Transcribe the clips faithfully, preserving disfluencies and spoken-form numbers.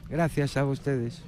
Gracias a vostedes.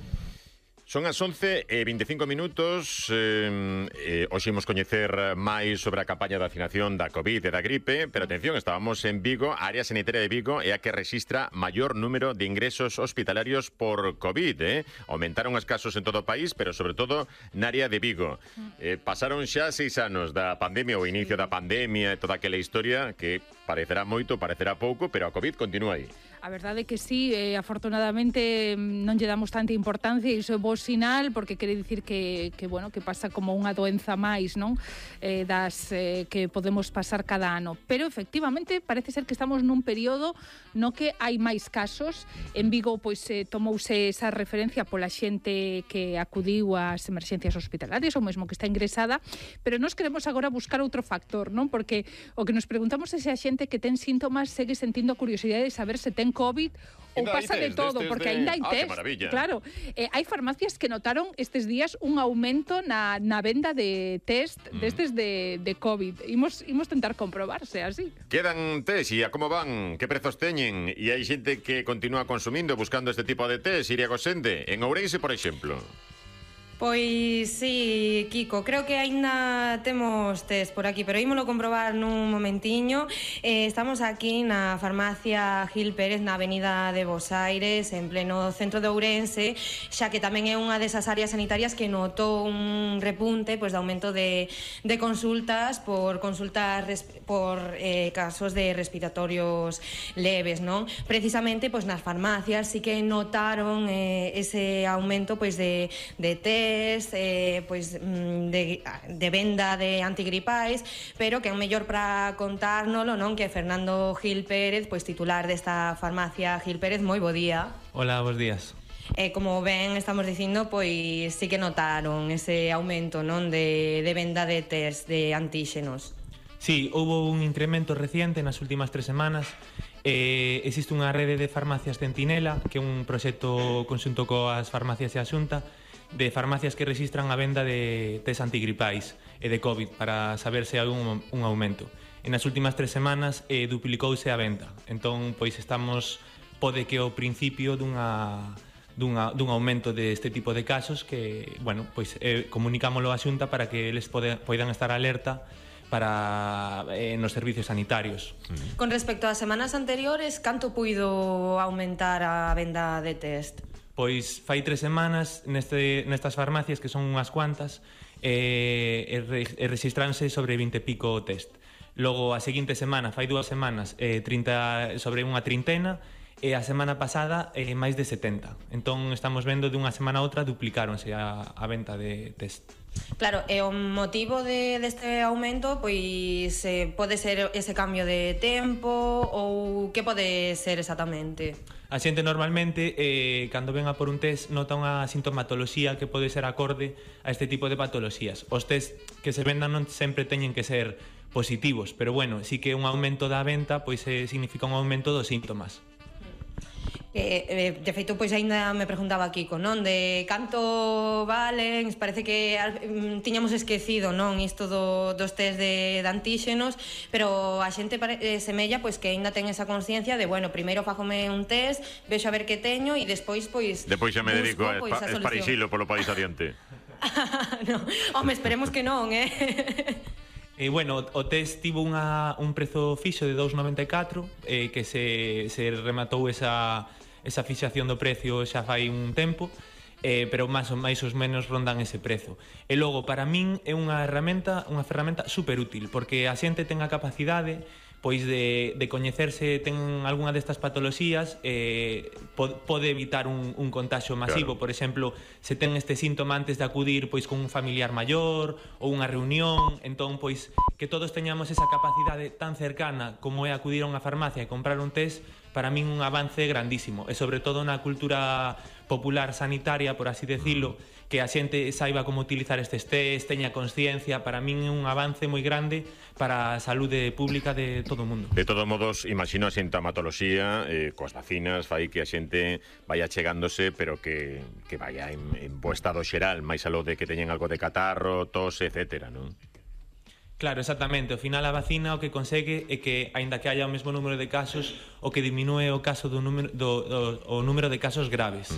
Son as once e veinticinco minutos. eh, eh, Hoxe imos coñecer máis sobre a campaña de vacinación da COVID e da gripe, pero atención, estábamos en Vigo. A área sanitaria de Vigo é a que rexistra maior número de ingresos hospitalarios por COVID, eh? Aumentaron os casos en todo o país, pero sobre todo na área de Vigo. eh, Pasaron xa seis anos da pandemia, o inicio da pandemia e toda aquela historia que parecerá moito, parecerá pouco, pero a COVID continúa aí. A verdade é que sí, eh, afortunadamente non lle damos tanta importancia e iso é bo sinal, porque quere dicir que, que, bueno, que pasa como unha doenza máis, non? Eh, das eh, que podemos pasar cada ano. Pero efectivamente parece ser que estamos nun período no que hai máis casos. En Vigo pois eh, tomouse esa referencia pola xente que acudiu ás emerxencias hospitalarias ou mesmo que está ingresada, pero nós queremos agora buscar outro factor, non? Porque o que nos preguntamos é se a xente que ten síntomas segue sentindo a curiosidade de saber se ten COVID ou pasa de todo, porque aínda hai test. Claro, eh, hai farmacias que notaron estes días un aumento na, na venda de test mm. destes de, de COVID. Imos, imos tentar comprobarse así. Quedan test e a como van? Que prezos teñen? E hai xente que continúa consumindo, buscando este tipo de test, Iria Gosende, en Ourense, por exemplo. Pois sí, Kiko, creo que aínda temos test por aquí, pero ímolo comprobar nun momentiño. eh, Estamos aquí na farmacia Gil Pérez, na avenida de Bos Aires, en pleno centro de Ourense, xa que tamén é unha desas áreas sanitarias que notou un repunte pois, de aumento de, de consultas por consultas res, por eh, casos de respiratorios leves, non? Precisamente pois, nas farmacias sí que notaron eh, ese aumento pois, de, de test, Eh, pois, de, de venda de antigripais, pero que é o mellor para contárnolo, non? Que Fernando Gil Pérez, pois titular desta farmacia Gil Pérez. Moi bo día. Hola, bos días. E como ben estamos dicindo, pois sí que notaron ese aumento, non? De, de venda de test de antíxenos. Sí, houve un incremento reciente nas últimas tres semanas. Eh, existe unha rede de farmacias Centinela, que é un proxecto conxunto coas farmacias e a Xunta, de farmacias que registran a venda de test antigripais e de COVID para saber se hai un, un aumento. En as últimas tres semanas eh, duplicouse a venda. Entón, pois estamos, pode que ao principio dunha, dunha, dun aumento deste tipo de casos que, bueno, pois eh, comunicámoslo á Xunta para que eles pode, poidan estar alerta para eh, nos servicios sanitarios. Con respecto ás semanas anteriores, canto puido aumentar a venda de test? Pois fai tres semanas neste, nestas farmacias, que son unhas cuantas, eh, e, re, e registranse sobre vinte e pico test. Logo, a seguinte semana, fai dúas semanas, eh, trinta, sobre unha trintena, e a semana pasada eh, máis de setenta. Entón estamos vendo de unha semana a outra duplicáronse a, a venta de test. Claro, e o motivo de, deste aumento pois eh, pode ser ese cambio de tempo ou que pode ser exactamente? A xente normalmente, eh, cando ven a por un test, nota unha sintomatoloxía que pode ser acorde a este tipo de patoloxías. Os test que se vendan non sempre teñen que ser positivos, pero bueno, sí que un aumento da venta pois eh, significa un aumento dos síntomas. Eh, eh, de feito, pois aínda me preguntaba Kiko, non? De canto valen, parece que mm, tiñamos esquecido, non? Isto do, dos test de, de antíxenos, pero a xente pare, eh, semella pois que aínda ten esa consciencia de, bueno, primeiro fágome un test, vexo a ver que teño e despois, pois... Depois xa me dedico a pois, esparixilo polo país adiante. No, home, esperemos que non, eh? E, bueno, o test tivo unha, un prezo fixo de dous noventa e catro, eh, que se, se rematou esa, esa fixación do precio xa fai un tempo, eh, pero máis ou máis os menos rondan ese prezo. E logo, para min, é unha herramienta, unha ferramenta super útil, porque a xente ten a capacidade pois de, de coñecerse ten algunha destas patoloxías, eh, pode evitar un, un contagio masivo. Claro. Por exemplo, se ten este síntoma antes de acudir pois con un familiar maior ou unha reunión, entón pois que todos teñamos esa capacidade tan cercana como é acudir a unha farmacia e comprar un test, para min un avance grandísimo, e sobre todo na cultura popular sanitaria, por así decirlo, que a xente saiba como utilizar estes test, teña consciencia. Para min é un avance moi grande para a saúde pública de todo o mundo. De todos modos, imagino a sintomatoloxía eh, coas vacinas fai que a xente vaya chegándose, pero que, que vaya en, en bo estado xeral, máis aló de que teñen algo de catarro, tos, etcétera, non? Claro, exactamente. Ao final a vacina o que consegue é que, aínda que haya o mesmo número de casos, o que diminúe o caso do número, do, do, o número de casos graves. Mm.